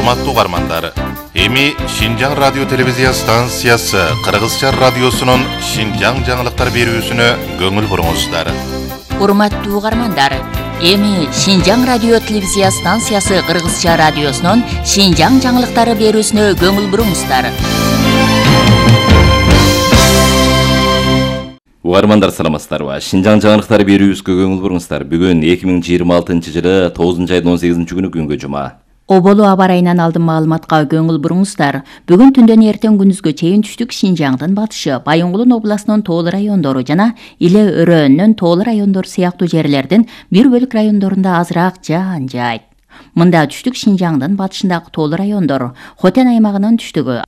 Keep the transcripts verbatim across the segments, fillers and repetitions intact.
Урматтуу угармандар, эми Шинжаң радио телевизия станциясы Кыргызча радиосунун Шинжаң жаңылыктар берүүсүнө көңүл буруңуздар. Урматтуу угармандар, эми Шинжаң радио телевизия станциясы Кыргызча радиосунун Шинжаң жаңылыктары берүүсүнө көңүл буруңуздар. Угармандар саламатсыздарбы? Шинжаң жаңылыктары берүүбүзгө көңүл буруңуздар. Бүгүн эки миң жыйырма алтынчы жылы тогузунчу айдын он сегизинчи күнү күнгө жума. Оболу аба ырайынан алдын маалыматка көңүл буруңуздар. Бүгүн түндөн эртең күндүзгө чейин түштүк Шинжаңдын батышы, Байоңгулун областынын тоолуу райондору жана Иле Өрөөнүн тоолуу райондору сыяктуу жерлердин бир бөлүк райондорунда азыраак жаан жаайт. Мында түштүк Шинжаңдын батышындагы тоолуу райондор, Хотен аймагынын түштүгү,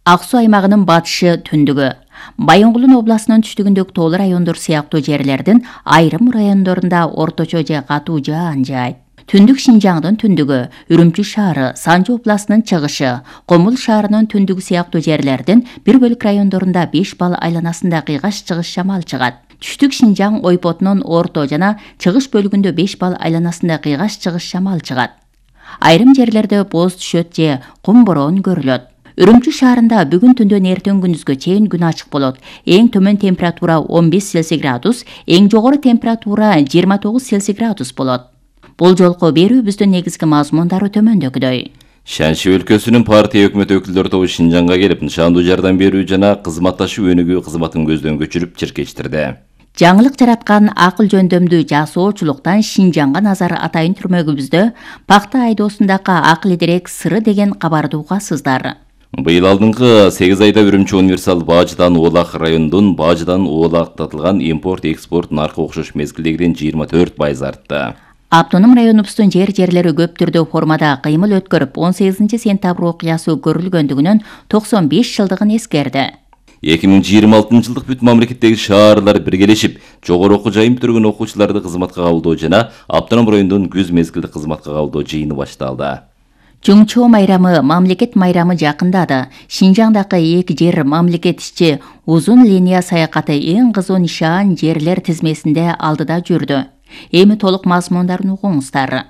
Ак Суу аймагынын батышы түндүгү, Байоңгулун областынын түштүгүндөгү тоолуу райондор сыяктуу жерлердин айрым райондорунда орточо же катуу жаан жаайт. Түндүк Шинжаңдын түндүгү, Үрүмчү шаары, Санжы областынын чыгышы, Комул шаарынын түндүгү сыяктуу жерлердин бир бөлүк райондорунда беш балл айланасында кыйгаш-чыгыш шамал чыгат. Түштүк Шинжаң ойпотунун орто жана чыгыш бөлүгүндө беш балл айланасында кыйгаш-чыгыш шамал чыгат. Айрым жерлерде боз түшөт же кум бороон көрүлөт. Үрүмчү шаарында бүгүн түндөн эртең күндүзгө чейин күн ачык болот. Эң төмөн температура он беш Цельсий градус, эң жогору температура жыйырма тогуз Цельсий градус болот. Бул жолку берүүбүздүн негизги мазмундары төмөндөгүдөй. Шанши өлкөсүнүн партия өкмөт өкүлдөрү тобу Шинжаңга келип, нышандуу жардам берүү жана кызматташуу өнүгүү кызматын көздөн көчүрүп чиркештирди. Жаңылык жараткан акыл жөндөмдүү жасоочулуктан Шинжаңга назар атайын түрмөгүбүздө Пакта айдоосундагы акыл дерек сыры деген кабарды угасыздар. Быйыл алдыңкы сегиз айда Үрүмчү универсал Баажыдан Оолак районунун Баажыдан Оолактатылган импорт-экспорт наркы окшош мезгилдегиден жыйырма төрт пайыз артты. Автоном районубуздун жер-жерлери көп түрдүү формада кыймыл өткөрүп, он сегизинчи сентябрь окуясы көрүлгөндүгүнөн токсон беш жылдыгын эскерди. эки миң жыйырма алтынчы жылдык бүт мамлекеттеги шаарлар биргелешип, жогору окуу жайын бүтүргөн окуучуларды кызматка кабылдоо жана автоном райондун күз мезгилдик кызматка кабылдоо жыйыны башталды. Чоңчоо майрамы, мамлекет майрамы жакындады. Шинжаңдагы эки жер мамлекет ичи узун линия саякаты эң кызуу нишан жерлер тизмесинде алдыда жүрдү. Эми толук мазмундарын угуңуздар.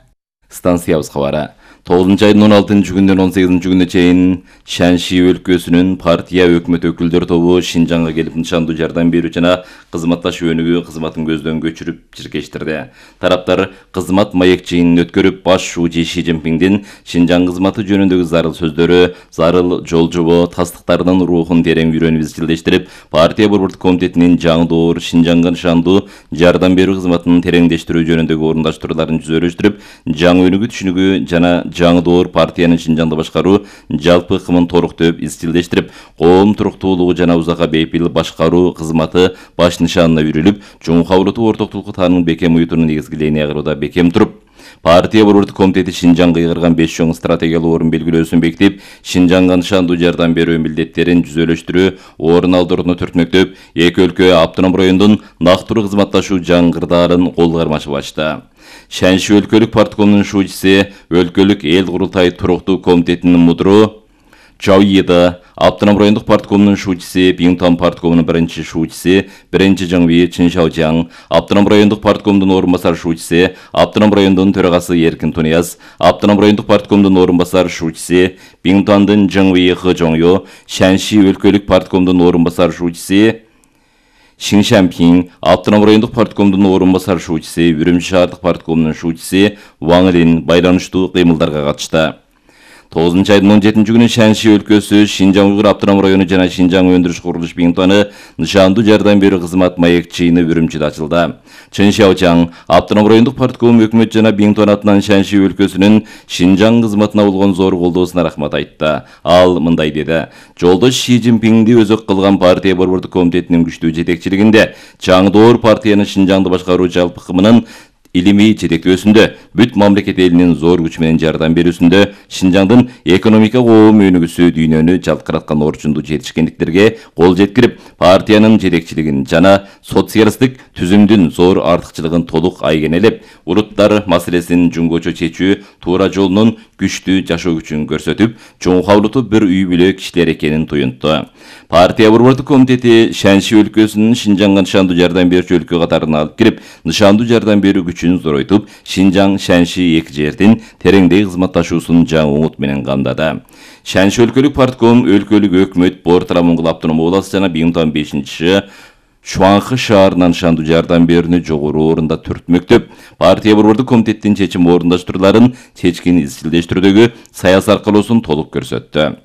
Станциябыз кабары. тогузунчу айдын он алтынчы күндөн он сегизинчи күнүнө чейин Шанши өлкөсүнүн партия өкмөт өкүлдөрү тобу Шинжаңга келип, нышандуу жардам берүү жана кызматташуу өнүгүү кызматын көздөн көчүрүп чиркештирди. Тараптар кызмат маек жыйынын өткөрүп, баш шуучу Ши Цзиньпиндин Шинжаң кызматы жөнүндөгү зарыл сөздөрү, зарыл жол жобо тастыктарынын рухун терең үйрөнүп изчилдештирип, партия борбордук комитетинин жаңдоор Шинжаңга нышандуу жардам берүү кызматынын тереңдештирүү жөнүндөгү орундаштырууларын жүзөрүштүрүп, жаңы өнүгүү түшүнүгү жана жаңдоор партиянын Шинжаңды башкаруу жалпы ыкымын торуктоп, изчилдештирип, коом туруктуулугу жана узакка бейпил башкаруу кызматы баш нишанына үйрүлүп, чоң кабылдуу ортоктулукку таанын бекем уютунун негизги линияда бекем туруп, партия борбордук комитети Шинжаңга кыйгырган беш чоң стратегиялык орун белгилөөсүн бекитип, Шинжаңга нышандуу жардам берүү милдеттерин жүзөлөштүрүү, орун алдырууну түртмөктөп, эки өлкө автоном райондун нактыруу кызматташуу жаңгырдаарын кол кармашып ачты. Шанши өлкөлүк парткомунун шуучусы, өлкөлүк эл курултай туруктуу комитетинин мудру Чауида, автоном райондук парткомунун шуучусы, Биңтон парткомунун биринчи шуучусы, биринчи Жаңви Чиншаожаң, автоном райондук парткомунун орун басар шуучусы, автоном райондун төрагасы Эркин Тунияз, автоном райондук парткомунун орун басар шуучусы, Биңтондун Жаңви Хыжоңё, Шанши өлкөлүк парткомунун орун басар шуучусы, Шиншанпин, автоном райондук парткомунун орун басар шуучусы, Үрүмчү шаардык парткомунун шуучусы Ваң Лин байланыштуу кыймылдарга катышты. тогузунчу айдын он жетинчи күнү Шанши өлкөсү, Шинжаң Уйгур автоном району жана Шинжаң өндүрүш курулуш Биңтону нышандуу жардам берүү кызмат маек жыйыны Үрүмчүдө ачылды. Чиншаожаң, автоном райондук партком өкмөт жана Биңтон атынан Шанши өлкөсүнүн Шинжаң кызматына болгон зор колдоосуна рахмат айтты. Ал мындай деди: жолдош Ши Цзиньпинди өзөк кылган партия борбордук комитетинин күчтүү жетекчилигинде жаңдоор партиянын Шинжаңды башкаруу жалпы ыкымынын илимий жетектөөсүндө, бүт мамлекет элинин зор күч менен жардам берүүсүндө, Шинжаңдын экономика коом өнүгүүсү дүйнөнү жалкыраткан орчундуу жетишкендиктерге кол жеткирип, партиянын жетекчилигин жана социалисттик түзүмдүн зор артыкчылыгын толук айгенелеп, улуттар маселесин жуңгочо чечүү туура жолунун күчтүү жашоо күчүн көрсөтүп, чоң кабылдуу бир үй бүлө кишилер экенин туюнтту. Партия борбордук комитети Шанши өлкөсүнүн Шинжаңга нышандуу жардам берүүчү өлкө катарына алып кирип, нышандуу жардам берүү күчүн зоройтуп, Шинжаң Шанши эки жердин тереңдей кызматташуусун Шинжаң уңут менен камдады. Шанши өлкөлүк партком, өлкөлүк өкмөт, Бортара Моңгол автономдук областы жана бир миң он бешинчи Шуаңкы шаарынан шанду жардам берүүнү жогору орунда түртмөктөп, партия борбордук комитеттин чечим орундаштырууларын чечкин изчилдештирүүдөгү саясий аркылоосун толук көрсөттү.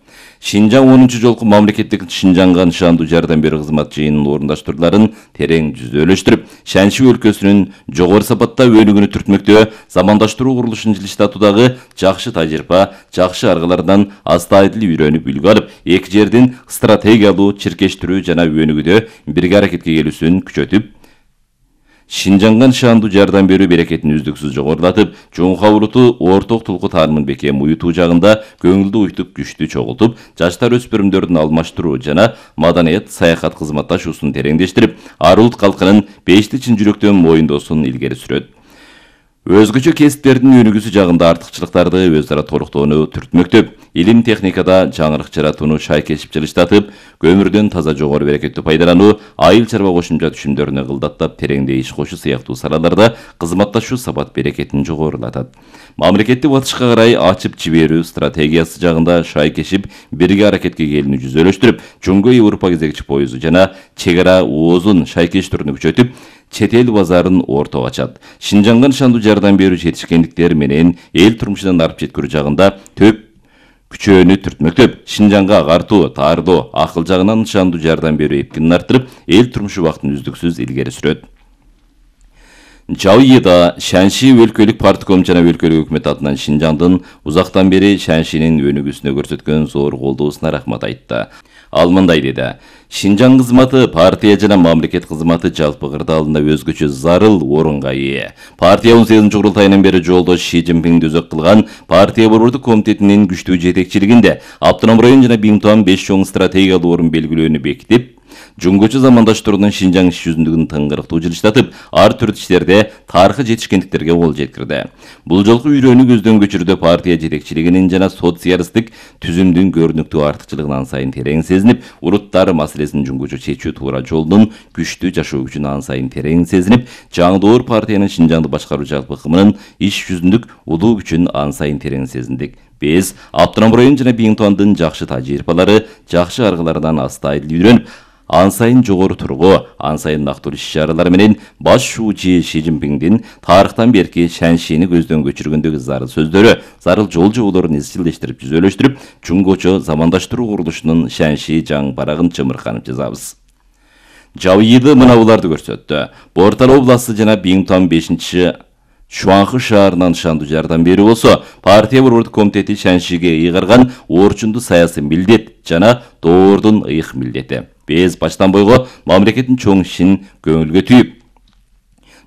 Шинжаң онунчу жолку мамлекеттик Шинжаңга нышандуу жардам берүү кызмат жыйынын орундаштырууларын терең жүзөлөштүрүп, Шанши өлкөсүнүн жогору сапатта өнүгүүнү түртмөктөө замандаштыруу курулушун жылыштатуудагы жакшы тажрыйба, жакшы аргалардан астайдыл үйрөнүп үлгү алып, эки жердин стратегиялуу чиркештирүү жана өнүгүүдө бирге аракетке келүүсүн күчөтүп, Шинжаңга нышандуу жардам берүү берекетин үздүксүз жогорулатып, Жоңху улуту орток тулку таанымын бекем уютуу жагында көңүлдү уйтуп күчтү чогултуп, жаштар өспүрүмдөрдүн алмаштыруу жана маданият саякат кызматташуусун тереңдештирип, ар улут калкынын бешти чын жүрөктөн моюндоосун илгери сүрөт. Өзгөчө кесиптердин өнүгүүсү жагында артыкчылыктарды өз ара толуктоону түртмөктөп, илим техникада жаңырык жаратууну шайкешип жылыштатып, көмүрдөн таза жогору берекеттүү пайдалануу, айыл чарба кошумча түшүмдөрүнө кылдаттап, тереңдей иш кошуу сыяктуу салаларда кызматташуу сапат берекетин жогорулатат. Мамлекетти батышка карай ачып жиберүү стратегиясы жагында шайкешип, бирге аракетке келүүнү жүзөлөштүрүп, Жөнгө Европа кезекчи поезду жана чек ара оозун шайкештирүүнү күчөтүп, чет эл базарын ортого ачат. Шинжаңга нышандуу жардам берүү жетишкендиктер менен эл турмушунан арып жеткирүү жагында төп күчөөнү түртмөктөп, Шинжаңга агартуу, таардоо, акыл жагынан нышандуу жардам берүү эпкинин арттырып, эл турмушу убактын үздүксүз илгери сүрөт. Жауйыда Шанши өлкөлүк партком жана өлкөлүк өкмөт атынан Шинжаңдын узактан бери Шаншинин өнүгүүсүнө көрсөткөн зор колдоосуна рахмат айтты. Ал мындай деди: Шинжаң кызматы партия жана мамлекет кызматы жалпы кырдаалында өзгөчө зарыл орунга ээ. Партия он сегизинчи курултайынан бери жолдош Ши Цзиньпинди өзөк кылган партия борбордук комитетинин күчтүү жетекчилигинде автоном район жана бир миң он беш чоң стратегиялуу орун белгилөөнү бекитип, жөнгөчө замандаштыруудан Шинжаң иш жүзүндүгүн тыңгырыктуу жылыштатып, ар түрдүү иштерде тарыхый жетишкендиктерге кол жеткирди. Бул жолку үйрөнүү көздөн көчүрүүдө партия жетекчилигинин жана социалисттик түзүмдүн көрүнүктүү артыкчылыгын ан сайын терең сезинип, уруттар маселесин жөнгөчө чечүү туура жолдун күчтүү жашоо күчүн ан сайын терең сезинип, жаңдоор партиянын Шинжаңды башкаруу жалпы кымынын иш жүзүндүк улуу күчүн ан сайын терең сезиндик. Биз автоном район жана бир миң ондун жакшы тажрыйбалары, жакшы аргалардан астайдыл үйрөнүп, ан сайын жогору тургу, ан сайын нактуу иш-чаралар менен баш шуучу Ши Цзиньпиндин тарыхтан берки Шаншини көздөн көчүргөндөгү зарыл сөздөрү, зарыл жол жоболорун изчилдештирип, жүзөлөштүрүп, чуңгочо замандаштыруу курулушунун Шанши жаң барагын чымырканып жазабыз. Жауйыды мынабуларды көрсөттү. Бортара областы жана бир миң он бешинчи Шуаңкы шаарынан нышандуу жардам берүү болсо, партия борбордук комитети Шаншиге ыйгарган орчундуу саясий милдет жана доордун ыйык милдети. Биз баштан бойго мамлекеттин чоң ишин көңүлгө түйүп,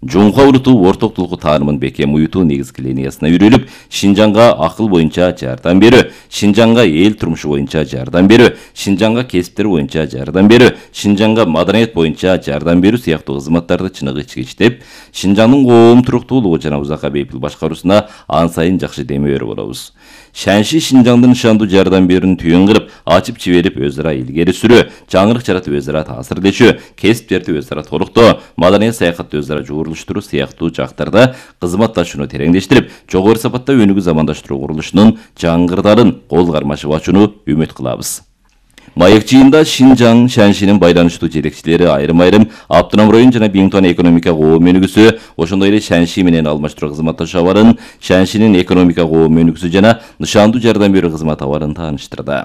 Жоңху улуту орток тулку таанымын бекем уютуу негизги линиясына үйрөлүп, Шинжаңга акыл боюнча жардам берүү, Шинжаңга эл турмушу боюнча жардам берүү, Шинжаңга кесиптер боюнча жардам берүү, Шинжаңга маданият боюнча жардам берүү сыяктуу кызматтарды чыныгы ичкичтеп, Шинжаңдын коом туруктуулугу жана узакка бейпил башкаруусуна ан сайын жакшы дем берүү болобуз. Шанши Шинжаңдын нышандуу жардам берүүнү түйүн кылып, ачып жиберип өз ара илгери сүрүү, жаңырык жаратып өз ара таасирдешүү, кесиптерди өз ара толуктоо, маданият саякатты өз ара жуурулуштуруу сыяктуу жактарда кызматташууну тереңдештирип, жогору сапатта өнүгүү замандаштыруу курулушунун жаңгырдарын кол кармашып ачууну үмүт кылабыз. Маек жыйында Шинжаң Шаншинин байланыштуу жетекчилери айрым-айрым автоном район жана бир миң экономика коом өнүгүүсү, ошондой эле Шанши менен алмаштыруу кызматташуу абарын, Шаншинин экономика коом өнүгүүсү жана нышандуу жардам берүү кызмат абарын тааныштырды.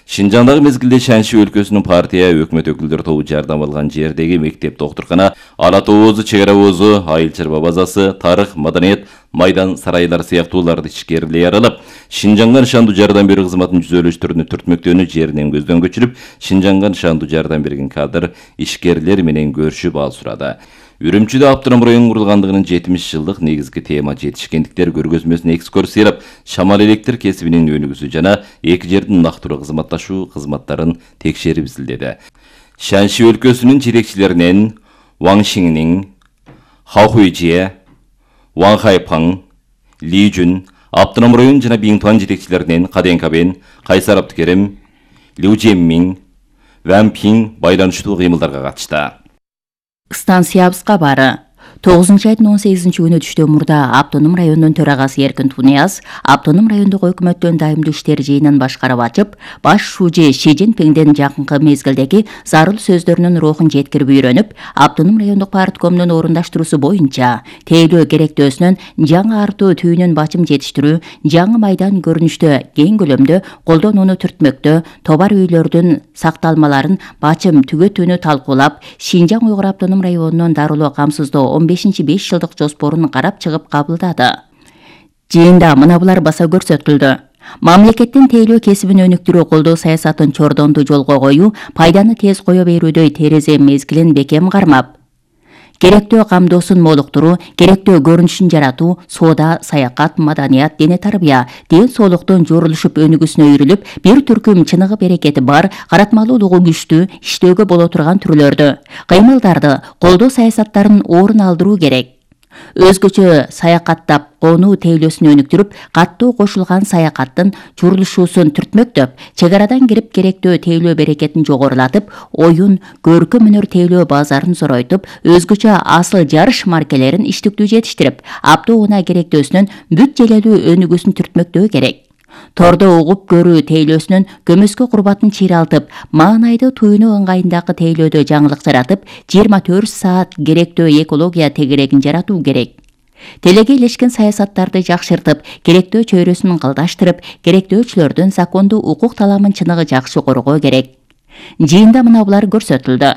Шинжаңдагы мезгилде Шанши өлкөсүнүн партия өкмөт өкүлдөр тобу жардам алган жердеги мектеп, доктуркана, ала тоозу, чек ара оозу, айыл чарба базасы, тарых, маданият, майдан, сарайлар сыяктууларды ичкерилей аралап, Шинжаңга нышандуу жардам берүү кызматын жүзөлөштүрүүнү түртмөктөөнү жеринен көздөн көчүрүп, Шинжаңга нышандуу жардам берген кадр ишкерлер менен көрүшүп ал сурады. Үрүмчүдө автоном район курулгандыгынын жетимиш жылдык негизги тема жетишкендиктер көргөзмөсүнө экскурсиялап, шамал электр кесибинин өнүгүүсү жана эки жердин нактуу кызматташуу кызматтарын текшерип изилдеди. Шанши өлкөсүнүн жетекчилеринен Ваң Шиннин, Хау Хуйжие, Ваң Хайпаң, Ли Жүн, автоном район жана бир миң жетекчилеринен Каден Кабен, Кайсар Абдыкерим, Лю Жеммин, Ван Пин байланыштуу кыймылдарга катышты. Станциябызга бары. тогузунчу айдын он сегизинчи күнү түштө мурда Автоном районунун төрагасы Эркин Тунияз Автоном райондук өкмөттүн дайымдуу иштер жыйынын башкарып ачып, баш шужи Ши Цзиньпиңдин жакынкы мезгилдеги зарыл сөздөрүнүн рухун жеткирип үйрөнүп, Автоном райондук парткомдун орундаштыруусу боюнча тейлөө керектөөсүнөн жаңы артуу түйүнүн бачым жетиштирүү, жаңы майдан көрүнүштө кең көлөмдө колдонууну түртмөктө, товар үйлөрдүн сакталмаларын бачым түгөтүүнү талкуулап, Шинжаң Уйгур Автоном районунун дарылоо камсыздоо он бешинчи беш жылдык жоспорун карап чыгып кабылдады. Жыйында мына булар баса көрсөтүлдү. Мамлекеттин тейлөө кесибин өнүктүрүү колдоо саясатын чордонду жолго коюу, пайданы тез кое берүүдөй терезе мезгилин бекем кармап, керектөө камдоосун молуктуруу, керектөө көрүнүшүн жаратуу, соода, саякат, маданият, дене тарбия, ден соолуктун жорулушуп өнүгүүсүнө үйрүлүп, бир түркүм чыныгы берекети бар, каратмалуулугу күчтүү, иштөөгө боло турган түрлөрдү, кыймылдарды, колдоо саясаттарын орун алдыруу керек. Өзгөчө саякаттап, конуу тейлөөсүн өнүктүрүп, каттуу кошулган саякаттын чурулушуусун түртмөктөп, чек арадан кирип керектөө тейлөө берекетин жогорулатып, оюн, көркөм өнөр тейлөө базарын зоройтуп, өзгөчө асыл жарыш маркелерин иштиктүү жетиштирип, аптоуна керектөөсүнөн бүт желелүү өнүгүүсүн түртмөктөө керек. Тордо угуп көрүү тейлөөсүнүн көмөскө курбатын чыйралтып, маанайды туюну ыңгайындагы тейлөөдө жаңылык жаратып, жыйырма төрт саат керектөө экология тегерегин жаратуу керек. Телеге илешкен саясаттарды жакшыртып, керектөө чөйрөсүн кылдаштырып, керектөөчүлөрдүн закондуу укук таламын чыныгы жакшы коргоо керек. Жыйында мына булар көрсөтүлдү.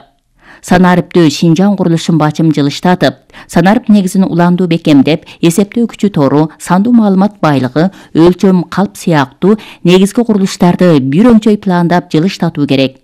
Санариптүү Шинжаң курулушун бачым жылыштатып, санарып негизин уландуу бекемдеп, эсептөө күчү тору, сандуу маалымат байлыгы, өлчөм калп сыяктуу негизги курулуштарды бир өңчөй пландап жылыштатуу керек.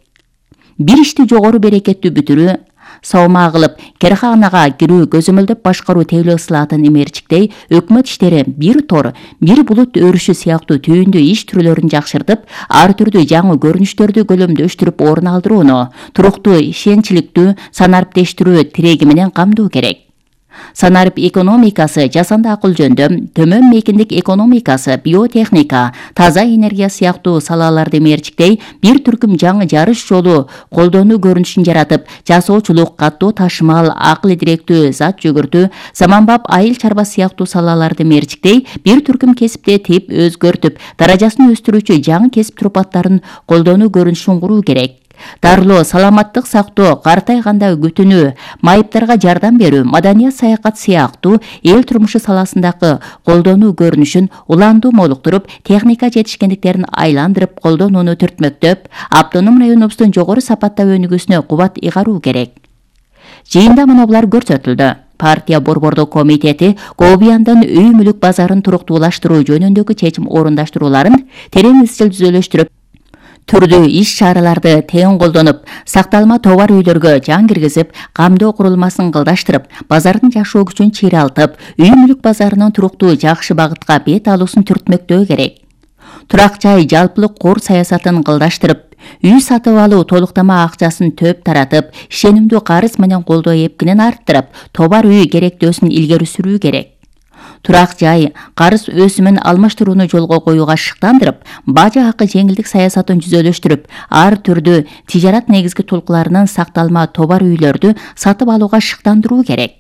Бир ишти жогору берекеттүү бүтүрүү, саумаа кылып, керканага кирүү, көзөмөлдөп башкаруу тейлөө ысылатын имерчиктей өкмөт иштери бир тор, бир булут өрүшү сыяктуу түйүндүү иш түрлөрүн жакшыртып, ар түрдүү жаңы көрүнүштөрдү көлөмдөштүрүп орун алдырууну, туруктуу, ишенчиликтүү, санариптештирүү тиреги менен камдоо керек. Санарип экономикасы, жасанды акыл жөндөм, төмөн мейкиндик экономикасы, биотехника, таза энергия сыяктуу салаларды мерчиктей бир түркүм жаңы жарыш жолу колдонуу көрүнүшүн жаратып, жасоочулук, каттоо ташымал, акыл идиректүү зат жүгүртүү, заманбап айыл чарба сыяктуу салаларды мерчиктей бир түркүм кесипте тип өзгөртүп, даражасын өстүрүүчү жаңы кесип турпаттарын колдонуу көрүнүшүн куруу керек. Дарылоо, саламаттык сактоо, картайганда күтүнүү, майыптарга жардам берүү, маданият, саякат сыяктуу эл турмушу саласындагы колдонуу көрүнүшүн уландуу молуктуруп, техника жетишкендиктерин айландырып, колдонууну түртмөктөп, Автоном районубуздун жогору сапатта өнүгүүсүнө кубат ыйгаруу керек. Жыйында мына булар көрсөтүлдү. Партия борбордук комитети Кобияндын үй мүлүк базарын туруктуулаштыруу жөнүндөгү чечим орундаштырууларын терең изчил түзөлөштүрүп, түрдүү иш-чараларды тең колдонуп, сакталма товар үйлөргө жан киргизип, камдоо курулмасын кылдаштырып, базардын жашоо күчүн чыйралтып, үй мүлүк базарынын туруктуу жакшы багытка бет алуусун түртмөктөө керек. Турак жай жалпылык кор саясатын кылдаштырып, үй сатып алуу толуктама акчасын төп таратып, ишенимдүү карыз менен колдоо эпкинин арттырып, товар үй керектөөсүн илгери сүрүү керек. Турак жай, карыз өсүмүн алмаштырууну жолго коюуга шыктандырып, бажа акы жеңилдик саясатын жүзөлөштүрүп, ар түрдүү тижарат негизги толкуларынын сакталма товар үйлөрдү сатып алууга шыктандыруу керек.